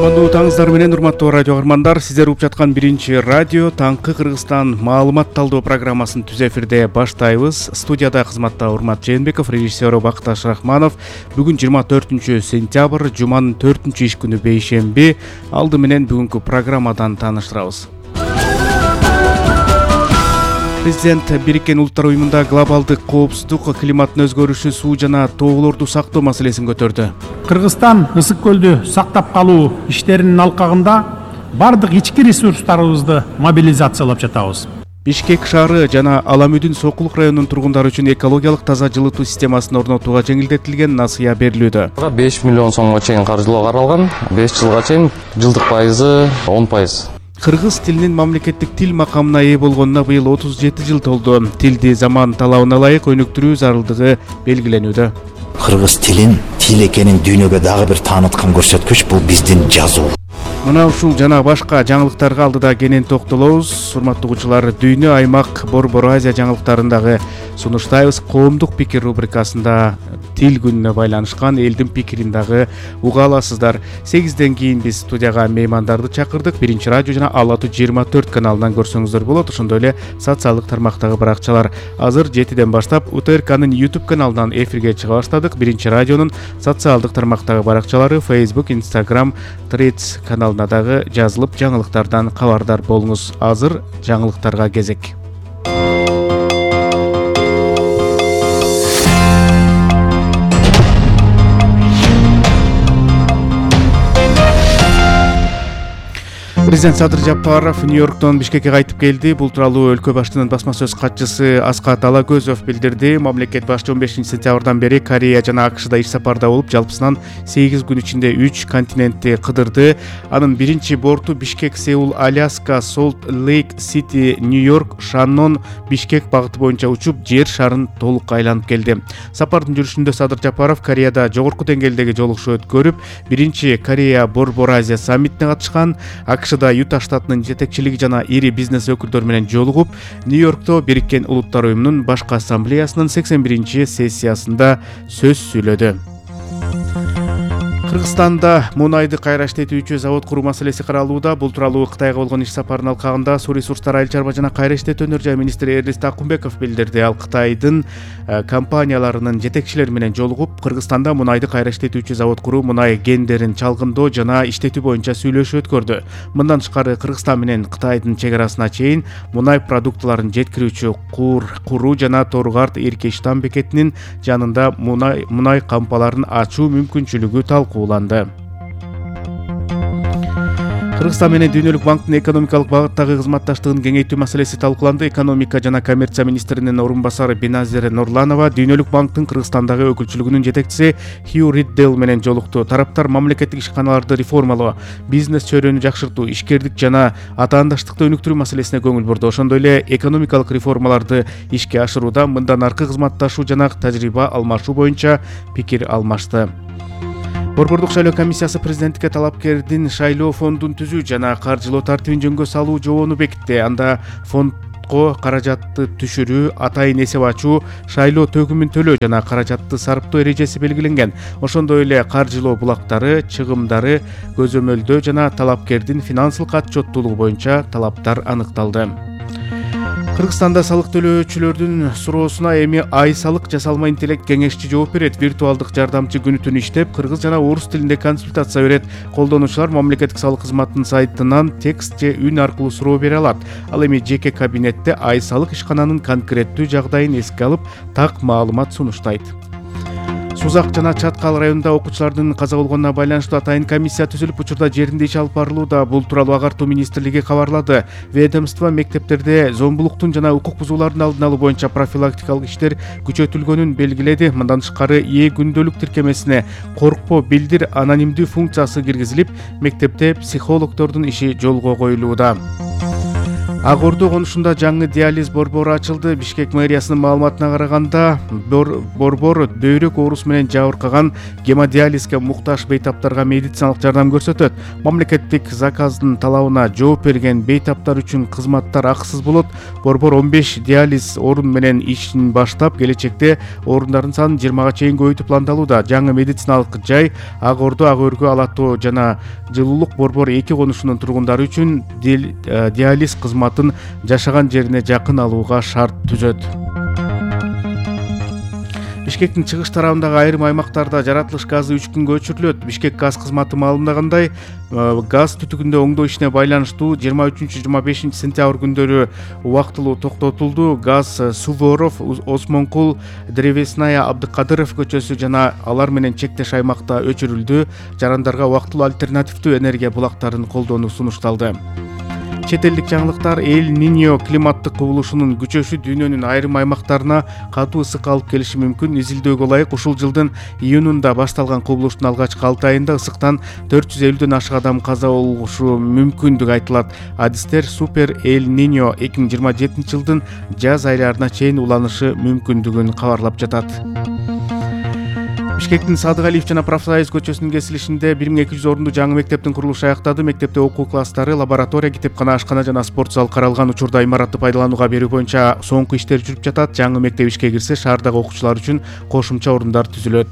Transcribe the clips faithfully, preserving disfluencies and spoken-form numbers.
Коондуу таңыңыздар менен урматтуу радио каармандар, сиздер угуп жаткан биринчи радио Таңкы Кыргызстан маалымат талдоо программасын түз эфирде баштайбыз. Студияда кызматта Урмат Жээнбеков, режиссеру Бакташ Рахманов. Бүгүн жыйырма төртүнчү сентябрь, жуманын төртүнчү иш күнү бейшемби. Алды менен бүгүнкү программадан тааныштырабыз. Президент Бириккен Улуттар уюмунда глобалдык коопсуздук, климаттын өзгөрүшү, суу жана тоолорду сактоо маселесин көтөрдү. Кыргызстан ысык көлдү сактап калуу иштеринин алкагында бардык ички ресурстарыбызды мобилизациялап жатабыз. Бишкек шаары жана Аламүдүн Сокулук районунун тургундары үчүн экологиялык таза жылытуу системасын орнотууга жеңилдетилген насыя берилүүдө. беш миллион сомго чейин каржылоо каралган. беш жылга чейин жылдык пайызы он пайыз. Кыргыз тилинин мамлекеттик тил макамына ээ болгонуна быйыл отуз жети жыл толду. Тилди заман талабына ылайык өнүктүрүү зарылдыгы белгиленүүдө. Кыргыз тилин тил экенин дүйнөгө дагы бир тааныткан көрсөткүч бул биздин жазуу. Мына ушул жана башка жаңылыктарга алдыда кенен токтолобуз. Урматтуу угуучулар, дүйнө, аймак, Борбор Азия жаңылыктарындагы сунуштайбыз. Коомдук пикир рубрикасында тил күнүнө байланышкан элдин пикирин дагы уга аласыздар. сегизден кийин биз студияга меймандарды чакырдык. Биринчи радио жана Ала Ту жыйырма төрт каналынан көрсөңүздөр болот. Ошондой эле социалдык тармактагы баракчалар. Азыр жетиден баштап У Т Р К'нын YouTube каналынан эфирге чыга баштадык. Биринчи радионун социалдык тармактагы баракчалары Facebook, Instagram, Threads каналына дагы жазылып, жаңылыктардан кабардар болуңуз. Азыр жаңылыктарга кезек. Президент Садыр Жапаров Нью-Йорктон Бишкекке кайтып келди. Бул тууралуу өлкө башчынын басма сөз катчысы Аскат Алагөзов билдирди. Мамлекет башчы он бешинчи сентябрдан бери Корея жана А К Шда иш сапарда болуп, жалпысынан сегиз күн ичинде үч континентти кыдырды. Анын биринчи борту Бишкек, Сеул, Аляска, Солт Лейк Сити, Нью-Йорк, Шаннон, Бишкек багыты боюнча учуп, жер шарын толук айланып келди. Сапардын жүрүшүндө Садыр Жапаров Кореяда жогорку деңгээлдеги жолугушуу өткөрүп, биринчи Корея Борбор Азия саммитине катышкан. А К Шда Юта штатынын жетекчилиги жана ири бизнес өкүлдөрү менен жолугуп, Нью-Йоркто Бириккен Улуттар уюмунун башкы ассамблеясынын сексен биринчи сессиясында сөз сүйлөдү. Кыргызстанда мунайды кайра иштетүүчү завод куруу маселеси каралууда. Бул тууралуу Кытайга болгон иш сапарынын алкагында Суу ресурстар, айыл чарба жана кайра иштетүү өнөр жай министри Эрлист Акунбеков билдирди. Ал Кытайдын компанияларынын жетекчилери менен жолугуп, Кыргызстанда мунайды кайра иштетүүчү завод куруу, мунай гендерин чалгындоо жана иштетүү боюнча сүйлөшүү өткөрдү. Мындан тышкары Кыргызстан менен Кытайдын чек арасына чейин мунай продуктыларын жеткирүүчү Кур куруу жана Торгарт Эркештан бекетинин жанында мунай мунай кампаларын ачуу мүмкүнчүлүгү талкуу. Кыргызстан менен Дүйнөлүк банктын экономикалык багыттагы кызматташтыгын кеңейтүү маселеси талкууланды. Экономика жана коммерция министринин орун басары Беназир Нурланова Дүйнөлүк банктын Кыргызстандагы өкүлчүлүгүнүн жетекчиси Хью Риддел менен жолукту. Тараптар мамлекеттик ишканаларды реформалоо, бизнес чөйрөнү жакшыртуу, ишкердик жана атаандаштыкты өнүктүрүү маселесине көңүл бурду. Ошондой эле экономикалык реформаларды ишке ашырууда мындан аркы кызматташуу жана тажрыйба алмашуу боюнча пикир алмашты. Борбордук шайлоо комиссиясы президенттикке талапкердин шайлоо фондун түзүү жана каржылоо тартибин жөнгө салуу жобону бекитти. Анда фондго каражатты түшүрүү, атайын эсеп ачуу, шайлоо төгүмүн төлөө жана каражатты сарптоо эрежеси белгиленген. Ошондой эле каржылоо булактары, чыгымдары, көзөмөлдөө жана талапкердин финансылык отчеттуулугу боюнча талаптар аныкталды. Кыргызстанда салык төлөөчүлөрдүн суроосуна эми ай салык жасалма интеллект кеңешчи жооп берет. Виртуалдык жардамчы күнү түнү иштеп, кыргыз жана орус тилинде консультация берет. Колдонуучулар мамлекеттик салык кызматынын сайтынан текст же үн аркылуу суроо бере алат. Ал эми жеке кабинетте ай салык ишкананын конкреттүү жагдайын эске алып, так маалымат сунуштайт. Сузак жана Чаткал районунда окуучулардын каза болгонуна байланыштуу атайын комиссия түзүлүп, учурда жеринде иш алып барылууда. Бул тууралуу Агартуу министрлиги кабарлады. Ведомство мектептерде зомбулуктун жана укук бузуулардын алдын алуу боюнча профилактикалык иштер күчөтүлгөнүн белгиледи. Мындан тышкары Е күндөлүк тиркемесине коркпо, билдир анонимдүү функциясы киргизилип, мектепте психологдордун иши жолго коюлууда. Ак Ордо конушунда жаңы диализ борбору ачылды. Бишкек мэриясынын маалыматына караганда, борбор бөйрөк оорусу менен жабыркаган гемодиализге муктаж бейтаптарга медициналык жардам көрсөтөт. Мамлекеттик заказдын талабына жооп берген бейтаптар үчүн кызматтар акысыз болот. Борбор он беш диализ орун менен ишин баштап, келечекте орундардын санын жыйырмага чейин көбөйтүү пландалууда. Жаңы медициналык жай Ак Ордо, Ак Өргө, Ала Тоо жана Жылуулук борбор эки конушунун тургундары үчүн диализ кызматын жашаган жерине жакын алууга шарт түзөт. Бишкектин чыгыш тарабындагы айрым аймактарда жаратылыш газы үч күнгө өчүрүлөт. Бишкек газ кызматы маалымдагандай, газ түтүгүндө оңдоо ишине байланыштуу жыйырма үчүнчү жыйырма бешинчи сентябрь күндөрү убактылуу токтотулду. Газ Суворов, Осмонкул, Древесная, Абдыкадыров көчөсү жана алар менен чектеш аймакта өчүрүлдү. Жарандарга убактылуу альтернативдүү энергия булактарын колдонуу сунушталды. Чет элдик жаңылыктар. Эль Ниньо климаттык кубулушунун күчөшү дүйнөнүн айрым аймактарына катуу ысык алып келиши мүмкүн. Изилдөөгө ылайык, ушул жылдын июнунда башталган кубулуштун алгачкы алты айында ысыктан төрт жүз элүүдөн ашык адам каза болушу мүмкүндүгү айтылат. Адистер Супер Эль Ниньо эки миң жыйырма жетинчи жылдын жаз айларына чейин уланышы мүмкүндүгүн кабарлап жатат. Бишкектин Садыгалиев жана Профсоюз көчөсүнүн кесилишинде бир миң эки жүз орунду жаңы мектептин курулушу аяктады. Мектепте окуу класстары, лаборатория, китепкана, ашкана жана спорт зал каралган. Учурда имаратты пайдаланууга берүү боюнча соңку иштер жүрүп жатат. Жаңы мектеп ишке кирсе, шаардагы окуучулар үчүн кошумча орундар түзүлөт.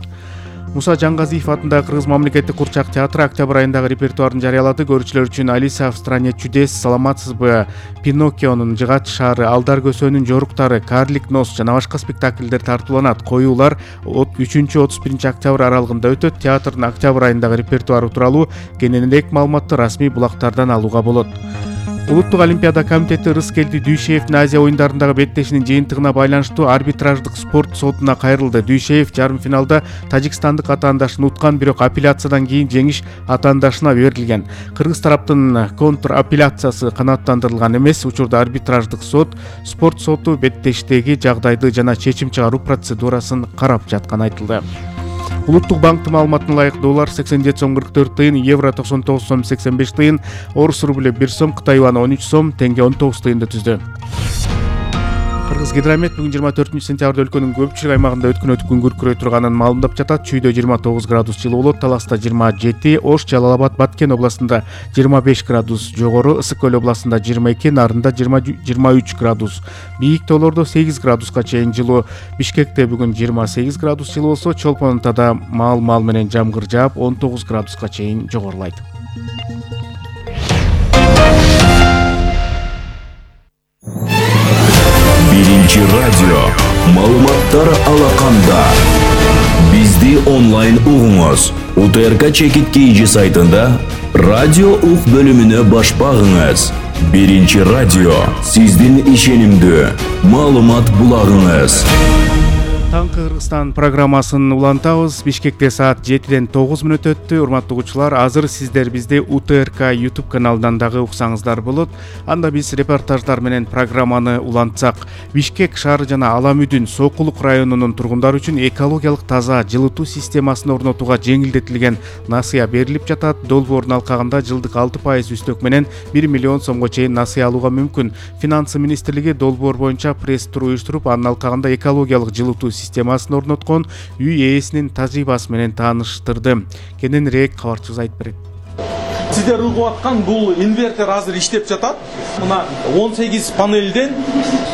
Муса Жангазиев атындагы Кыргыз мамлекеттик курчак театры октябрь айындагы репертуарын жарыялады. Көрүүчүлөр үчүн Алиса в стране чудес, Саламатсызбы, Пиноккионун Жыгач шаары, Алдар көсөнүн жоруктары, Карлик нос жана башка спектакльдер тартууланат. Коюулар үчүнчү отуз биринчи октябрь аралыгында өтөт. Театрдын октябрь айындагы репертуары тууралуу кененирээк маалыматты расмий булактардан алууга болот. Улуттук олимпиада комитети Рыскелди Дүйшеевдин Азия оюндарындагы беттешинин жыйынтыгына байланыштуу арбитраждык спорт сотуна кайрылды. Дүйшеев жарым финалда тажикстандык атаандашын уткан, бирок апелляциядан кийин жеңиш атаандашына берилген. Кыргыз тараптын контр апелляциясы канааттандырылган эмес. Учурда арбитраждык сот спорт соту беттештеги жагдайды жана чечим чыгаруу процедурасын карап жатканы айтылды. Улуттук банктын маалыматына ылайык доллар сексен жети сом кырк төрт тыйын, евро токсон тогуз сом сексен беш тыйын, орус рубль бир сом, Кытай юаны он үч сом, теңге он тогуз тыйынды түздү. Кыргыз гидромет бүгүн жыйырма төртүнчү сентябрда өлкөнүн көпчүлүк аймагында өткөн өтүп күн күркүрөй турганын маалымдап жатат. Чүйдө жыйырма тогуз градус жылуу болот, Таласта жыйырма жети, Ош, Жалал-Абад, Баткен областында жыйырма беш градус жогору, Ысык Көл областында жыйырма эки, Нарында жыйырма үч градус. Бийик тоолордо сегиз градуска чейин жылуу. Бишкекте бүгүн жыйырма сегиз градус жылуу болсо, Чолпон Атада маал-маал менен жамгыр жаап он тогуз градуска чейин жогорулайт. Биринчи радио маалыматтар алаканда. Бизди онлайн угуңуз. У Т Р К Чекит Кийжи сайтында радио ук бөлүмүнө баш багыңыз. Биринчи радио сиздин ишенимдүү маалымат булагыңыз. Таңкы Кыргызстан программасын улантабыз. Бишкекте саат жетиден тогуз мүнөт өттү. Урматтуу угуучулар, азыр сиздер бизди У Т Р К YouTube каналынан дагы уксаңыздар болот. Анда биз репортаждар менен программаны улантсак, Бишкек шаары жана Аламүдүн Сокулук районунун тургундары үчүн экологиялык таза жылытуу системасын орнотууга жеңилдетилген насыя берилип жатат. Долбоордун алкагында жылдык алты пайыз үстөк менен бир миллион сомго чейин насыя алууга мүмкүн. Финансы министрлиги долбоор боюнча пресс-тур уюштуруп, анын алкагында экологиялык жылытуу системасын орноткон үй ээсинин тажрыйбасы менен тааныштырды. Кененирээк кабарчыбыз айтып берет. Сиздер угуп аткан бул инвертер азыр иштеп жатат. Мына он сегиз панелден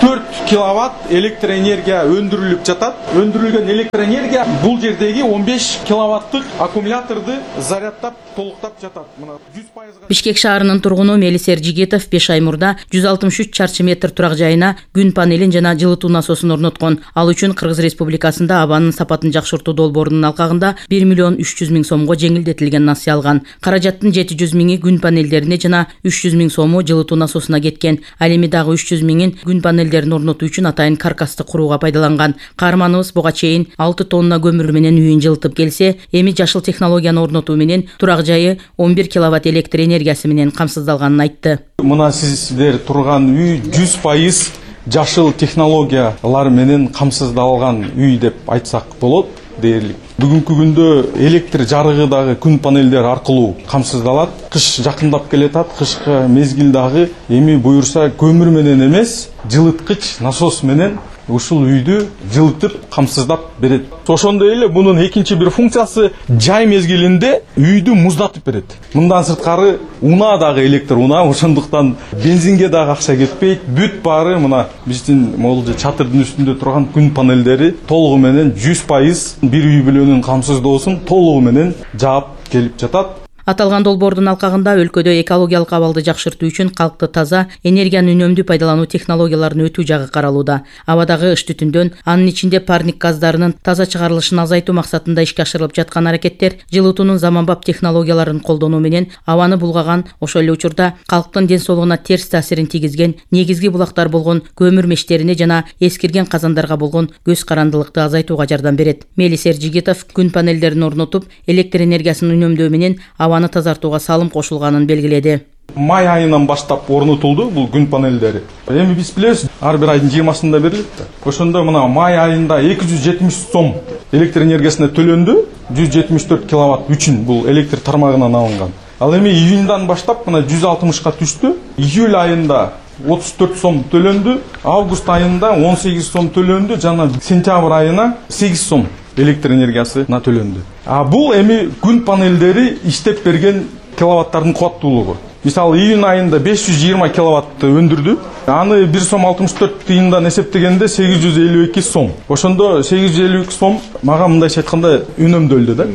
төрт киловатт электр энергия өндүрүлүп жатат. Өндүрүлгөн электр энергия бул жердеги он беш киловаттык аккумуляторду зарядтап толуктап жатат. Мына жүз пайызга. Бишкек шаарынын тургуну Мелис Эржигитов беш ай мурда жүз алтымыш үч чарчы метр турак жайына күн панелин жана жылытуу насосун орноткон. Ал үчүн Кыргыз Республикасында абанын сапатын жакшыртуу долбоорунун алкагында бир миллион үч жүз миң сомго жеңилдетилген насыя алган. Каражаттын жети жүз миңи күн панелдерине жана үч жүз миң сому жылытуу насосуна кеткен. Ал эми дагы үч жүз миңин күн панелдерин орнотуу үчүн атайын каркасты курууга пайдаланган. Каарманыбыз буга чейин алты тонна көмүр менен үйүн жылытып келсе, эми жашыл технологияны орнотуу менен турак жайы он бир киловатт электр энергиясы менен камсыздалганын айтты. Мына сиздер турган үй жүз пайыз жашыл технологиялар менен камсыздалган үй деп айтсак болот дээрлик. Бүгүнкү күндө электр жарыгы дагы күн панелдери аркылуу камсыздалат. Кыш жакындап келатат. Кышкы мезгил дагы эми буюрса көмүр менен эмес, жылыткыч насос менен ушул үйдү жылытып камсыздап берет. Ошондой эле мунун экинчи бир функциясы жай мезгилинде үйдү муздатып берет. Мындан сырткары унаа дагы электр унаа, ошондуктан бензинге дагы акча кетпейт. Бүт баары мына биздин могул чатырдын үстүндө турган күн панелдери толугу менен жүз пайыз бир үй бүлөнүн камсыздоосун толугу менен жаап келип жатат. Аталган долбоордун алкагында өлкөдө экологиялык абалды жакшыртуу үчүн калкты таза, энергияны үнөмдүү пайдалануу технологияларын өтүү жагы каралууда. Абадагы ыш түтүндөн, анын ичинде парник газдарынын таза чыгарылышын азайтуу максатында ишке ашырылып жаткан аракеттер жылытуунун заманбап технологияларын колдонуу менен абаны булгаган, ошол эле учурда калктын ден соолугуна терс таасирин тийгизген негизги булактар болгон көмүр мештерине жана эскирген казандарга болгон көз карандылыкты азайтууга жардам берет. Мелис Эржигитов күн панелдерин орнотуп, электр энергиясын үнөмдөө менен абаны тазартууга салым кошулганын белгиледи. Май айынан баштап орнотулду бул күн панелдери. Эми биз билебиз, ар бир айдын жыйырмасында берилет да. Ошондо мына май айында эки жүз жетимиш сом электр энергиясына төлөндү. жүз жетимиш төрт киловатт үчүн бул электр тармагынан алынган. Ал эми июньдан баштап мына жүз алтымышка түштү. Июль айында отуз төрт сом төлөндү. Август айында он сегиз сом төлөндү, жана сентябрь айына сегиз сом электр энергиясына төлөндү. А бул эми күн панелдери иштеп берген киловаттардын кубаттуулугу. Мисалы июнь айында беш жүз жыйырма киловаттты өндүрдү. Аны бир сом алтымыш төрт тыйындан эсептегенде сегиз жүз элүү эки сом. Ошондо сегиз жүз элүү эки сом мага мындайча айтканда үнөмдөлдү да.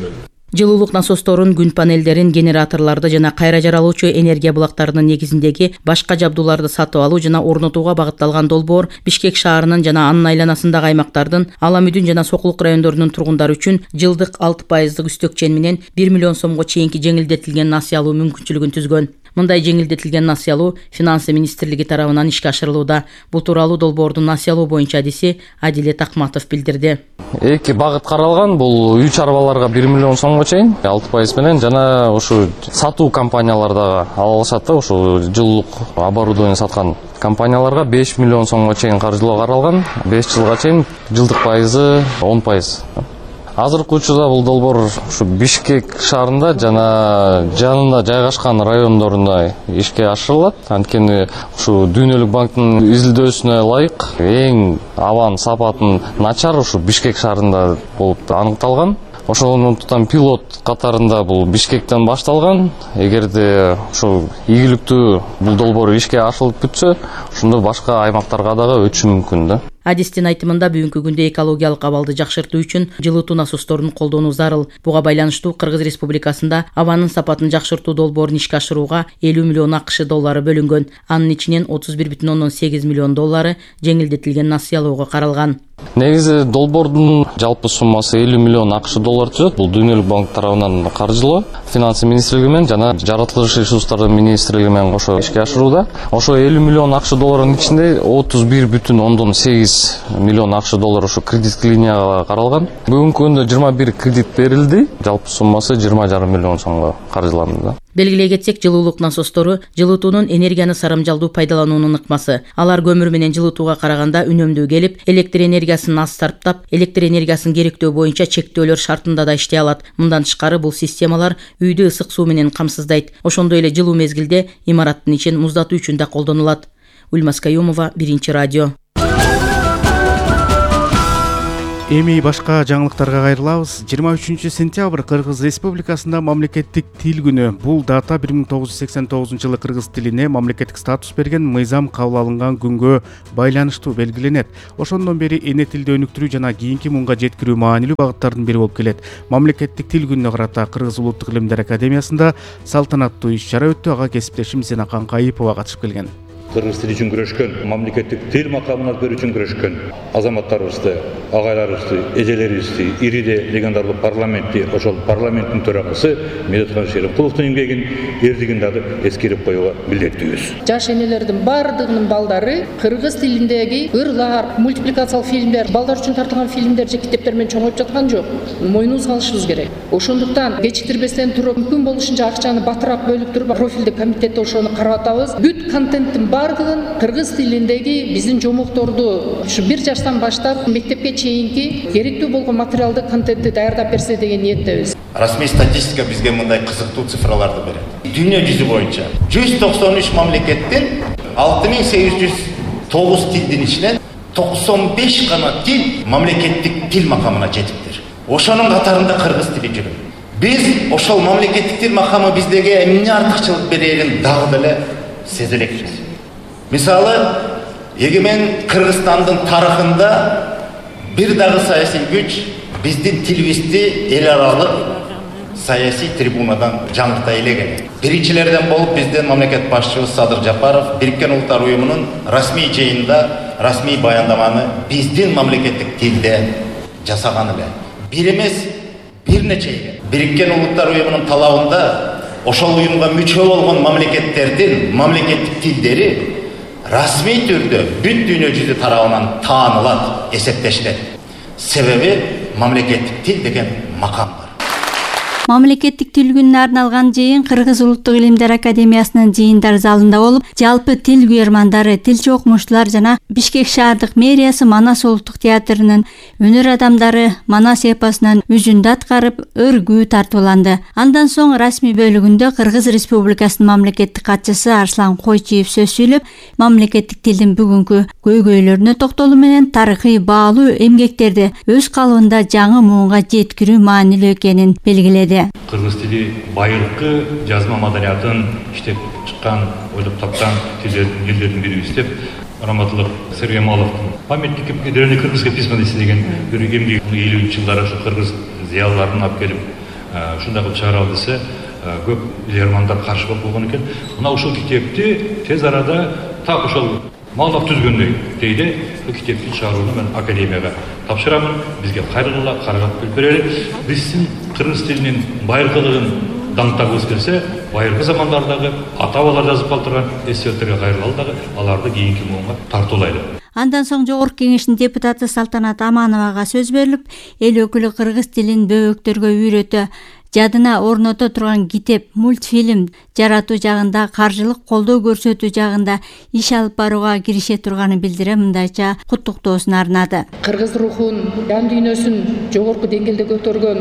Жылуулук насосторун, күн панелдерин, генераторлорду жана кайра жаралуучу энергия булактарынын негизиндеги башка жабдууларды сатып алуу жана орнотууга багытталган долбоор Бишкек шаарынын жана анын айланасындагы аймактардын, Ала Мүдүн жана Сокулук райондорунун тургундары үчүн жылдык алты пайыздык үстөкчен менен бир миллион сомго чейинки жеңилдетилген насыя алуу мүмкүнчүлүгүн түзгөн. Мындай жеңилдетилген насыя алуу Финансы министрлиги тарабынан ишке ашырылууда. Бул тууралуу долбоордун насыя алуу боюнча адиси Адилет Акматов билдирди. Эки багыт каралган, бул үй чарбаларга бир миллион сомго чейин алты пайыз менен жана ушу сатуу компаниялар дагы ала алышат да, ушу жылуулук оборудование саткан компанияларга беш миллион сомго чейин каржылоо каралган. беш жылга чейин жылдык пайызы он пайыз. Азыркы учурда бул долбоор ушу Бишкек шаарында жана жанында жайгашкан райондорунда ишке ашырылат. Анткени ушу Дүйнөлүк банктын изилдөөсүнө ылайык эң абанын сапатын начар ушу Бишкек шаарында болуп аныкталган. Ошондуктан пилот катарында бул Бишкектен башталган. Эгерде ушу ийгиликтүү бул долбоор ишке ашырылып бүтсө, ошондо башка аймактарга дагы өтүшү мүмкүн да. Адистин айтымында бүгүнкү күндө экологиялык абалды жакшыртуу үчүн жылытуу насосторун колдонуу зарыл. Буга байланыштуу Кыргыз Республикасында абанын сапатын жакшыртуу долбоорун ишке ашырууга элүү миллион акш доллары бөлүнгөн. Анын ичинен отуз бир бүтүн ондон сегиз миллион доллары жеңилдетилген насыя алууга каралган. Негизи долбоордун жалпы суммасы элүү миллион акш доллар түзөт. Бул Дүйнөлүк банк тарабынан каржылоо, Финансы министрлиги менен жана жаратылыш ресурстары министрлиги менен кошо ишке ашырууда. Ошо элүү миллион акш долларынын ичинде отуз бир бүтүн ондон сегиз миллион акш доллар ушу кредит линияга каралган. Бүгүнкү күндө жыйырма бир кредит берилди. Жалпы суммасы жыйырма жарым миллион сомго каржыланды. Белгилей кетсек, жылуулук насостору жылытуунун энергияны сарамжалдуу пайдалануунун ыкмасы. Алар көмүр менен жылытууга караганда үнөмдүү келип, электр энергиясын аз сарптап, электр энергиясын керектөө боюнча чектөөлөр шартында да иштей алат. Мындан тышкары бул системалар үйдү ысык суу менен камсыздайт. Ошондой эле жылуу мезгилде имараттын ичин муздатуу үчүн да колдонулат. Ульмас Каюмова, Биринчи радио. Эми башка жаңылыктарга кайрылабыз. жыйырма үчүнчү сентябрь Кыргыз Республикасында мамлекеттик тил күнү. Бул дата бир миң тогуз жүз сексен тогузунчу жылы кыргыз тилине мамлекеттик статус берген мыйзам кабыл алынган күнгө байланыштуу белгиленет. Ошондон бери эне тилди өнүктүрүү жана кийинки муңга жеткирүү маанилүү багыттардын бири болуп келет. Мамлекеттик тил күнүнө карата Кыргыз Улуттук илимдер академиясында салтанаттуу иш-чара өттү. Ага кесиптешим Зенакан Кайыпова катышып келген. Кыргыз тили үчүн күрөшкөн, мамлекеттик тил макамын алып берүү үчүн күрөшкөн азаматтарыбызды, агайларыбызды, эжелерибизди, ириде легендарлуу парламентти, ошол парламенттин төрагасы Медетхан Шеримкуловдун эмгегин, эрдигин дагы эскерип коюуга милдеттүүбүз. Жаш энелердин бардыгынын балдары кыргыз тилиндеги ырлар, мультипликациялык фильмдер, балдар үчүн тартылган фильмдер же китептер менен чоңоюп жаткан жок. Мойнубузга алышыбыз керек. Ошондуктан кечиктирбестен туруп, мүмкүн болушунча акчаны батыраак бөлүп туруп, профилдик комитетте ошону карап атабыз. Бүт контенттин баардыгын кыргыз тилиндеги биздин жомокторду ушу бир жаштан баштап мектепке чейинки керектүү болгон материалдык контентти даярдап берсе деген ниеттебиз. Расмий статистика бизге мындай кызыктуу цифраларды берет. Дүйнө жүзү боюнча жүз токсон үч мамлекеттин алты миң сегиз жүз тогуз тилдин ичинен токсон беш гана тил мамлекеттик тил макамына жетиптир. Ошонун катарында кыргыз тили жүрөт. Биз ошол мамлекеттик тил макамы биздеге эмне артыкчылык берерин дагы деле сезе элекпиз. Мисалы, эгемен Кыргызстандын тарыхында бир дагы саясий күч биздин тилибизди эл аралык саясий трибунадан жаңырта элеген. Биринчилерден болуп биздин мамлекет башчыбыз Садыр Жапаров Бириккен Улуттар Уюмунун расмий жыйынында расмий баяндаманы биздин мамлекеттик тилде жасаган эле. Бир эмес, бир нече эл. Бириккен Улуттар Уюмунун талабында ошол уюмга мүчө болгон мамлекеттердин мамлекеттик тилдери расмий түрдө бүт дүйнө жүзү тарабынан таанылат, эсептешилет. Себеби мамлекеттик тил деген макам бар. Мамлекеттик тил күнүнө арналган жыйын Кыргыз Улуттук илимдер академиясынын жыйындар залында болуп, жалпы тил күйөрмандары, тилчи окумуштуулар жана Бишкек шаардык мэриясы Манас улуттук театрынын өнөр адамдары Манас эпосунан үзүндү аткарып, өргүү тартууланды. Андан соң расмий бөлүгүндө Кыргыз Республикасынын мамлекеттик катчысы Арслан Койчиев сөз сүйлөп, мамлекеттик тилдин бүгүнкү көйгөйлөрүнө токтолуу менен тарыхый баалуу эмгектерди өз калыбында жаңы муунга жеткирүү маанилүү экенин белгиледи. Кыргыз тили байыркы жазма маданиятын иштеп чыккан, ойлоп тапкан тилдердин бирибиз деп Раматылык Сергей Маловдун памятник древней кыргызской письменности деген бир эмгеги элүүнчү жылдары ушу кыргыз зыялыларын алып келип ушундай кылып чыгаралы десе көп лермандар каршы болуп койгон экен. Мына ушул китепти тез арада так ошол Малов түзгөндөй дейди. Бул китепти чыгарууну мен академияга тапшырамын. Бизге кайрылгыла, каргап берели. Биздин кыргыз тилинин байыркылыгын даңктагыбыз келсе, байыркы замандардагы ата-бабалар жазып калтырган эсселерге кайрылалы дагы аларды кийинки муунга тартуулайлы. Андан соң Жогорку Кеңештин депутаты Салтанат Амановага сөз берилип, эл өкүлү кыргыз тилин бөбөктөргө үйрөтө, жадына орното турган китеп, мультфильм жаратуу жагында, каржылык колдоо көрсөтүү жагында иш алып барууга кирише турганын билдире мындайча куттуктоосун арнады. Кыргыз рухун, жан дүйнөсүн жогорку деңгээлде көтөргөн,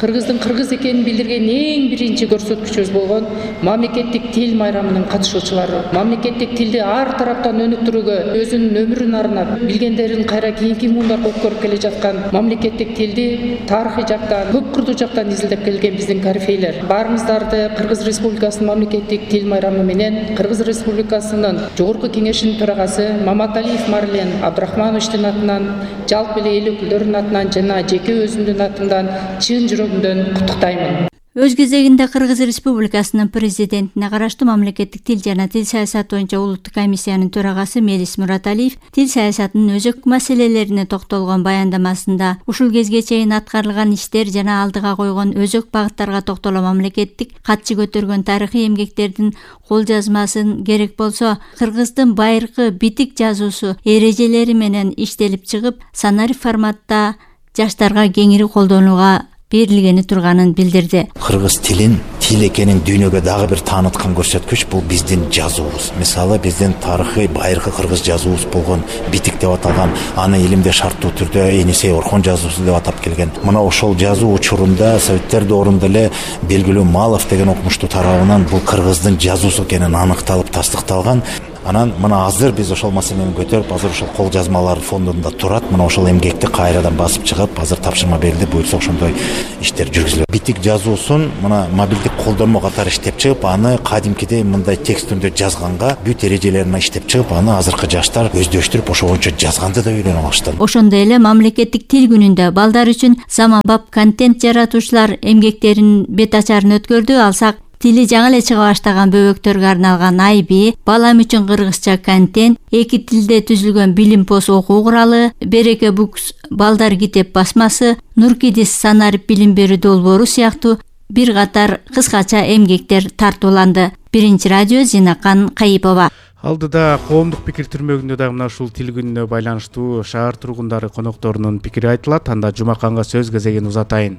кыргыздын кыргыз экенин билдирген эң биринчи көрсөткүчүбүз болгон мамлекеттик тил майрамынын катышуучулары. Мамлекеттик тилди ар тараптан өнүктүрүүгө өзүнүн өмүрүн арнап, билгендерин кайра кийинки муундарга өткөрүп келе жаткан мамлекеттик тилди тарыхый жактан, көп кырдуу жактан изилдеп келген биздин корифейлер. Баарыңыздарды Кыргыз Республикасынын мамлекеттик тил майрамы менен Кыргыз Республикасынын Жогорку Кеңешинин төрагасы Маматалиев Марлен Абдрахмановичтин атынан, жалпы эле эл өкүлдөрүнүн атынан жана жеке өзүмдүн атымдан чын жүрөгүмдөн куттуктаймын. Өз кезегинде Кыргыз Республикасынын президентине караштуу мамлекеттик тил жана тил саясаты боюнча улуттук комиссиянын төрагасы Мелис Мураталиев тил саясатынын өзөк маселелерине токтолгон баяндамасында ушул кезге чейин аткарылган иштер жана алдыга койгон өзөк багыттарга токтоло мамлекеттик катчы көтөргөн тарыхый эмгектердин кол жазмасын керек болсо кыргыздын байыркы битик жазуусу эрежелери менен иштелип чыгып, санарип форматта жаштарга кеңири колдонууга берилгени турганын билдирди. Кыргыз тилин тил экенин дүйнөгө дагы бир тааныткан көрсөткүч бул биздин жазуубуз. Мисалы, биздин тарыхый байыркы кыргыз жазуубуз болгон битик деп аталган, аны илимде шарттуу түрдө Энисей Орхон жазуусу деп атап келген. Мына ошол жазуу учурунда Советтер доорунда эле белгилүү Малов деген окумуштуу тарабынан бул кыргыздын жазуусу экенин аныкталып тастыкталган. Анан мына азыр биз ошол маселени көтөрүп, азыр ошол кол жазмалар фондунда турат. Мына ошол эмгекти кайрадан басып чыгып, азыр тапшырма берилди, буюрса ошондой иштер жүргүзүлөт. Битик жазуусун мына мобилдик колдонмо катары иштеп чыгып, аны кадимкидей мындай текст түрүндө жазганга, бүт эрежелерин иштеп чыгып, аны азыркы жаштар өздөштүрүп, ошо боюнча жазганды да үйрөнүп алышты. Ошондой эле мамлекеттик тил күнүндө балдар үчүн заманбап контент жаратуучулар эмгектеринин бет ачарын өткөрдү. Алсак, тили жаңы эле чыга баштаган бөбөктөргө арналган айби, балам үчүн кыргызча контент, эки тилде түзүлгөн билим пост окуу куралы, Береке Books балдар китеп басмасы, Нуркидис санарип билим берүү долбоору сыяктуу бир катар кыскача эмгектер тартууланды. Биринчи радио Зинакан Кайыпова. Алдыда коомдук пикир түрмөгүндө дагы мына ушул тил күнүнө байланыштуу шаар тургундары конокторунун пикири айтылат. Анда Жумаканга сөз кезегин узатайын.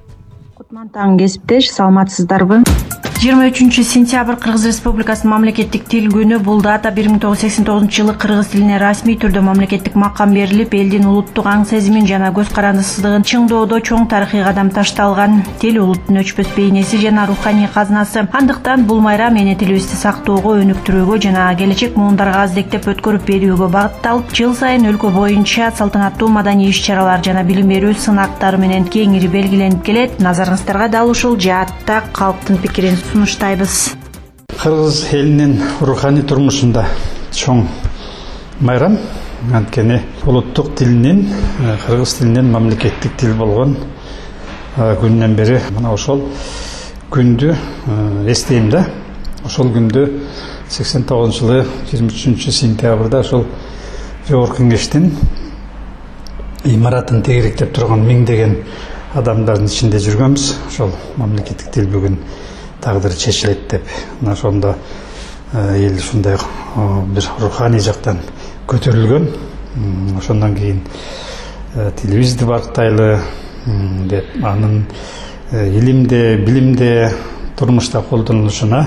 Кутман таң кесиптеш, саламатсыздарбы? жыйырма үчүнчү сентябрь Кыргыз Республикасынын мамлекеттик тил күнү. Бул дата бир миң тогуз жүз сексен тогузунчу жылы кыргыз тилине расмий түрдө мамлекеттик макам берилип, элдин улуттук аң сезимин жана көз карандысыздыгын чыңдоодо чоң тарыхый кадам ташталган. Тил улуттун өчпөс бейнеси жана руханий казынасы. Андыктан бул майрам эне тилибизди сактоого, өнүктүрүүгө жана келечек муундарга аздектеп өткөрүп берүүгө багытталып, жыл сайын өлкө боюнча салтанаттуу маданий иш-чаралар жана билим берүү сынактары менен кеңири белгиленип келет. Назарыңыздарга дал ушул жаатта калктын пикирин сунуштайбыз. Кыргыз элинин руханий турмушунда чоң майрам, анткени улуттук тилинин, кыргыз тилинин мамлекеттик тил болгон күнүнөн бери мына ошол күндү эстейм да. Ошол күндү сексен тогузунчу жылы жыйырма үчүнчү сентябрда ошол Жогорку Кеңештин имаратын тегеректеп турган миңдеген адамдардын ичинде жүргөнбүз. Ошол мамлекеттик тил бүгүн тагдыры чечилет деп, мына ошондо эл ушундай бир руханий жактан көтөрүлгөн. Ошондон кийин тилибизди барктайлы деп, анын илимде, билимде, турмушта колдонулушуна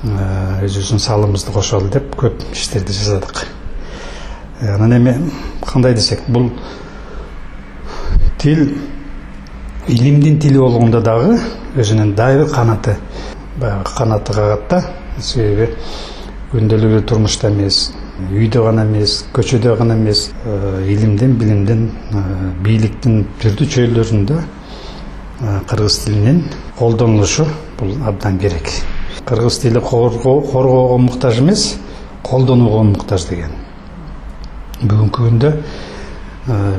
өзүбүздүн салымыбызды кошолу деп көп иштерди жасадык. Анан эми кандай десек, бул тил илимдин тили болгондо дагы өзүнүн дайыр канаты, баягы канаты кагат да. Себеби күндөлүк турмушта эмес, үйдө гана эмес, көчөдө гана эмес, илимдин, билимдин, бийликтин түрдүү чөйрөлөрүндө кыргыз тилинин колдонулушу бул абдан керек. Кыргыз тили коргоого муктаж эмес, колдонууга муктаж деген. Бүгүнкү күндө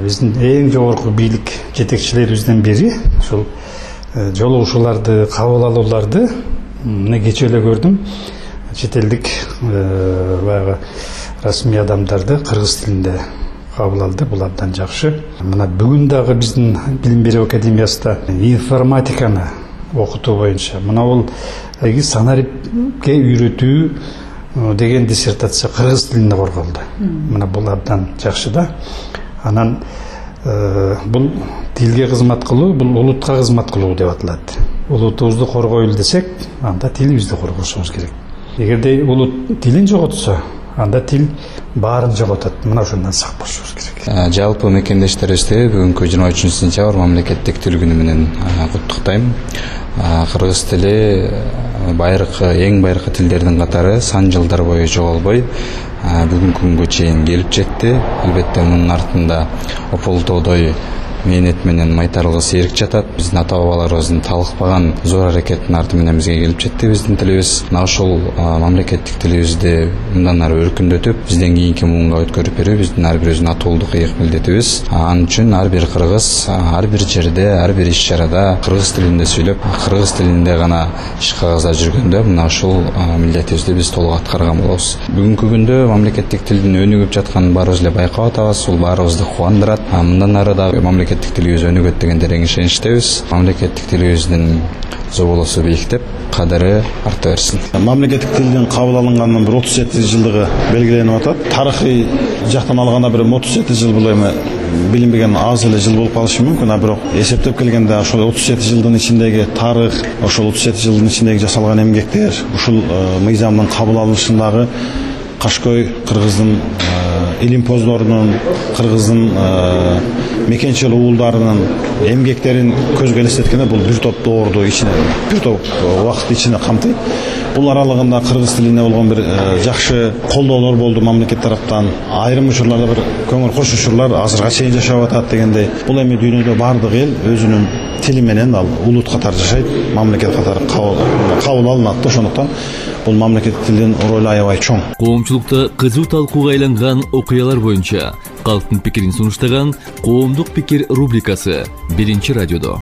биздин эң жогорку бийлик жетекчилерибизден бири ушул жолугушууларды, кабыл алууларды мына кечээ эле көрдүм. Чет элдик баягы расмий адамдарды кыргыз тилинде кабыл алды. Бул абдан жакшы. Мына бүгүн дагы биздин Билим берүү академиясында информатиканы окутуу боюнча мына бул санариптке үйрөтүү деген диссертация кыргыз тилинде корголду. Мына бул абдан жакшы да. Анан бул тилге кызмат кылуу, бул улутка кызмат кылуу деп аталат. Улутубузду коргойлу десек, анда тилибизди коргошубуз керек. Эгерде улут тилин жоготсо, анда тил баарын жоготот. Мына ошондон сак болушубуз керек. Жалпы мекендештерибизди бүгүнкү жыйырма үчүнчү сентябрь мамлекеттик тил күнү менен куттуктайм. Кыргыз тили байыркы, эң байыркы тилдердин катары сан жылдар бою жоголбой бүгүнкү күнгө чейин келип жетти. Албетте мунун артында ополтоодой мээнет менен майтарылгыс эрк жатат. Биздин ата бабаларыбыздын талыкпаган зор аракеттин арты менен бизге келип жетти биздин тилибиз. Мына ошол мамлекеттик тилибизди мындан ары өркүндөтүп, бизден кийинки муунга өткөрүп берүү биздин ар бирибиздин атуулдук ыйык милдетибиз. Ал үчүн ар бир кыргыз ар бир жерде, ар бир иш-чарада кыргыз тилинде сүйлөп, кыргыз тилинде гана иш кагазда жүргөндө мына ушул милдетибизди биз толук аткарган болобуз. Бүгүнкү күндө мамлекеттик тилдин өнүгүп жатканын баарыбыз эле байкап атабыз. Бул баарыбызды кубандырат. Мындан ары дагы мамлекеттик тилибиз өнүгөт деген терең ишеничтебиз. Мамлекеттик тилибиздин зоболосу бийиктеп, кадыры арта берсин. Мамлекеттик тилдин кабыл алынганынын бир отуз жети жылдыгы белгиленип атат. Тарыхый жактан алганда бир отуз жети жыл бул эми билинбеген аз эле жыл болуп калышы мүмкүн, а бирок эсептеп келгенде ошол отуз жети жылдын ичиндеги тарых, ошол отуз жети жылдын ичиндеги жасалган эмгектер, ушул мыйзамдын кабыл алынышындагы Кашкой кыргыздын илимпоздорунун, кыргыздын мекенчил уулдарынын эмгектерин көзгө элестеткенде бул бир топ доорду ичине, бир топ убакыт ичине камтыйт. Бул аралыгында кыргыз тилине болгон бир жакшы колдоолор болду мамлекет тараптан. Айрым учурларда бир көңүл кош учурлар азырга чейин жашап атат дегендей. Бул эми дүйнөдө бардык эл өзүнүн тили менен ал улут катары жашайт, мамлекет катары кабыл алынат. Ошондуктан бул мамлекеттик тилдин ролу аябай чоң. Коомчулукта кызуу талкууга айланган окуялар боюнча калктын пикирин сунуштаган Коомдук пикир рубрикасы биринчи радиодо.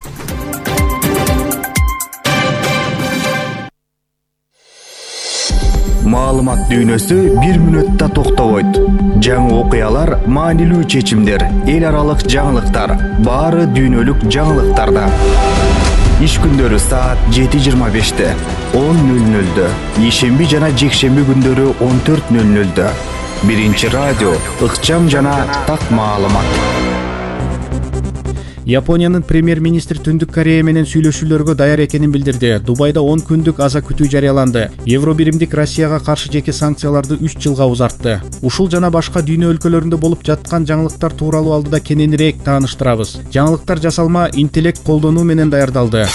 Маалымат дүйнөсү бир мүнөттө токтобойт. Жаңы окуялар, маанилүү чечимдер, эл аралык жаңылыктар, баары дүйнөлүк жаңылыктарда. Иш күндөрү саат жети жыйырма беште, он нөл нөлдө, ишемби жана жекшемби күндөрү он төрт нөл нөлдө. Биринчи радио, ыкчам жана так маалымат. Япониянын премьер-министри Түндүк Корея менен сүйлөшүүлөргө даяр экенин билдирди. Дубайда он күндүк аза күтүү жарыяланды. Евробиримдик Россияга каршы жеке санкцияларды үч жылга узартты. Ушул жана башка дүйнө өлкөлөрүндө болуп жаткан жаңылыктар тууралуу алдыда кененирээк тааныштырабыз. Жаңылыктар жасалма интеллект колдонуу менен даярдалды.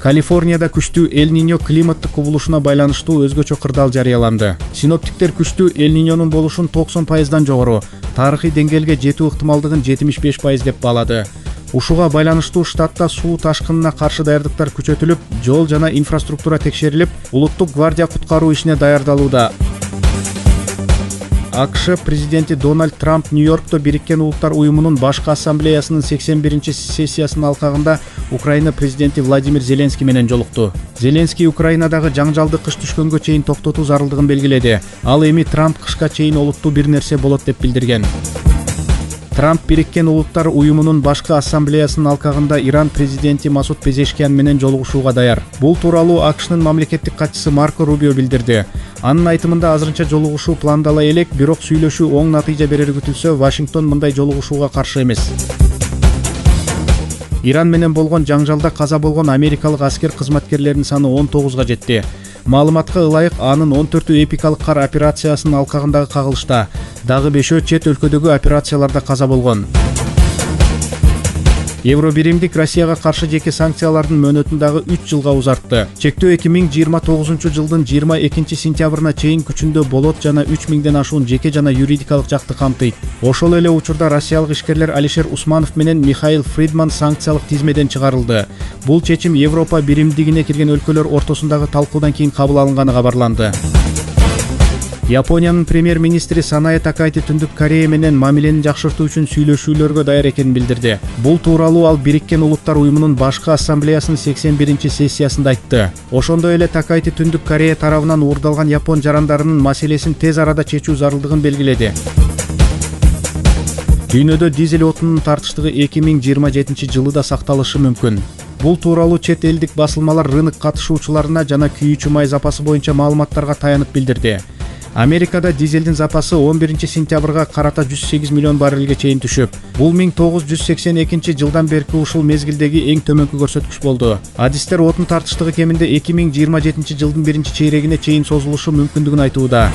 Калифорнияда күчтүү Эль-Ниньо климаттык кубулушуна байланыштуу өзгөчө кырдаал жарыяланды. Синоптиктер күчтүү Эль-Ниньонун болушун токсон пайыздан жогору, тарыхый деңгээлге жетүү ыктымалдыгын жетимиш беш пайыз деп баалады. Ушуга байланыштуу штатта суу ташкынына каршы даярдыктар күчөтүлүп, жол жана инфраструктура текшерилип, улуттук гвардия куткаруу ишине даярдалууда. АКШ президенти Дональд Трамп Нью-Йоркто Бириккен Улуттар уюмунун башкы ассамблеясынын сексен биринчи сессиясынын алкагында Украина президенти Владимир Зеленский менен жолукту. Зеленский Украинадагы жаңжалды кыш түшкөнгө чейин токтотуу зарылдыгын белгиледи. Ал эми Трамп кышка чейин олуттуу бир нерсе болот деп билдирген. Трамп Бириккен Улуттар уюмунун башкы ассамблеясынын алкагында Иран президенти Масуд Пезешкиян менен жолугушууга даяр. Бул тууралуу АКШнын мамлекеттик катчысы Марко Рубио билдирди. Анын айтымында азырынча жолугушуу пландала элек, бирок сүйлөшүү оң натыйжа берери күтүлсө, Вашингтон мындай жолугушууга каршы эмес. Иран менен болгон жаңжалда каза болгон америкалык аскер кызматкерлеринин саны он тогузга жетти. Маалыматка ылайык, анын он төртү эпикалык кар операциясынын алкагындагы кагылышта, дагы бешөө чет өлкөдөгү операцияларда каза болгон. Евробиримдик Россияга каршы жеке санкциялардын мөөнөтүн дагы үч жылга узартты. Чектөө эки миң жыйырма тогузунчу жылдын жыйырма экинчи сентябрына чейин күчүндө болот жана үч миңден ашуун жеке жана юридикалык жакты камтыйт. Ошол эле учурда россиялык ишкерлер Алишер Усманов менен Михаил Фридман санкциялык тизмеден чыгарылды. Бул чечим Европа биримдигине кирген өлкөлөр ортосундагы талкуудан кийин кабыл алынганы кабарланды. Япониянын премьер-министри Санае Такайти Түндүк Корея менен мамиленин жакшыртуу үчүн сүйлөшүүлөргө даяр экенин билдирди. Бул тууралуу ал Бириккен Улуттар уюмунун башкы ассамблеясынын сексен биринчи сессиясында айтты. Ошондой эле Такайти Түндүк Корея тарабынан уурдалган япон жарандарынын маселесин тез арада чечүү зарылдыгын белгиледи. Дүйнөдө дизель отунун тартыштыгы эки миң жыйырма жетинчи жылы да сакталышы мүмкүн. Бул тууралуу чет элдик басылмалар рынок катышуучуларына жана күйүүчү май запасы боюнча маалыматтарга таянып билдирди. Америкада дизелдин запасы он биринчи сентябрга карата жүз сегиз миллион баррелге чейин түшүп, бул миң тогуз жүз сексен экинчи жылдан берки ушул мезгилдеги эң төмөнкү көрсөткүч болду. Адистер отун тартыштыгы кеминде эки миң жыйырма жетинчи жылдын биринчи чейрегине чейин созулушу мүмкүндүгүн айтууда.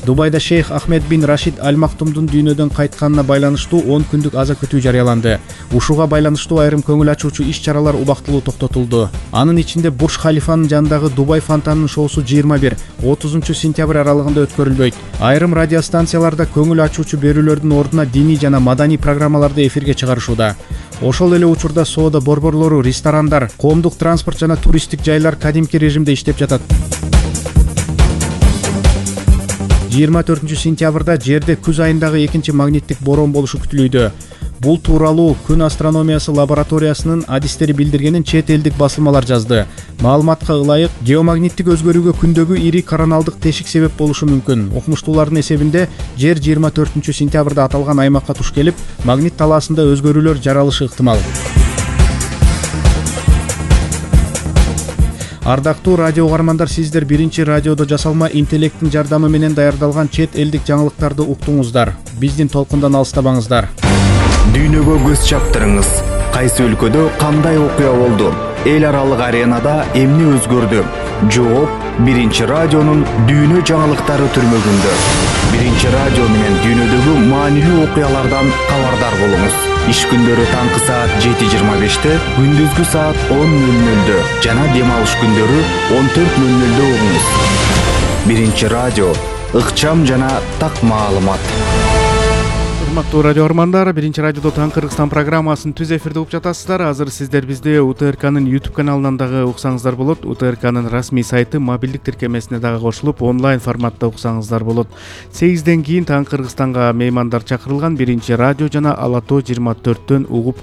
Дубайда Шейх Ахмед бин Рашид Аль Мактумдун дүйнөдөн кайтканына байланыштуу он күндүк аза күтүү жарыяланды. Ушуга байланыштуу айрым көңүл ачуучу иш-чаралар убактылуу токтотулду. Анын ичинде Бурж Халифанын жанындагы Дубай фонтанынын шоусу жыйырма бир отузунчу сентябрь аралыгында өткөрүлбөйт. Айрым радиостанцияларда көңүл ачуучу берүүлөрдүн ордуна диний жана маданий программаларды эфирге чыгарышууда. Ошол эле учурда соода борборлору, ресторандар, коомдук транспорт жана туристтик жайлар кадимки режимде иштеп жатат. жыйырма төртүнчү сентябрда жерде күз айындагы экинчи магниттик борон болушу күтүлүүдө. Бул тууралуу Күн астрономиясы лабораториясынын адистери билдиргенин чет элдик басылмалар жазды. Маалыматка ылайык, геомагниттик өзгөрүүгө күндөгү ири короналдык тешик себеп болушу мүмкүн. Окумуштуулардын эсебинде жер жыйырма төртүнчү сентябрда аталган аймакка туш келип, магнит талаасында өзгөрүүлөр жаралышы ыктымал. Ардактуу радио угармандар, сиздер биринчи радиодо жасалма интеллекттин жардамы менен даярдалган чет элдик жаңылыктарды уктуңуздар. Биздин толкундан алыстабаңыздар. Дүйнөгө көз чаптырыңыз. Кайсы өлкөдө кандай окуя болду? Эл аралык аренада эмне өзгөрдү? Жооп биринчи радионун дүйнө жаңылыктары түрмөгүндө. Биринчи радио менен дүйнөдөгү маанилүү окуялардан кабардар болуңуз. Иш күндөрү таңкы саат жети жыйырма беште, күндүзгү саат он нөл нөлдө жана дем алыш күндөрү он төрт нөл нөлдө угуңуз. Биринчи радио, ыкчам жана так маалымат. Урматтуу радио армандар, биринчи радиодо Таң Кыргызстан программасын түз эфирде угуп жатасыздар. Азыр сиздер бизди УТРКнын YouTube каналынан дагы уксаңыздар болот. УТРКнын расмий сайты мобилдик тиркемесине дагы кошулуп, онлайн форматта уксаңыздар болот. сегизден кийин Таң Кыргызстанга меймандар чакырылган. Биринчи радио жана Ала Тоо жыйырма төрттөн угуп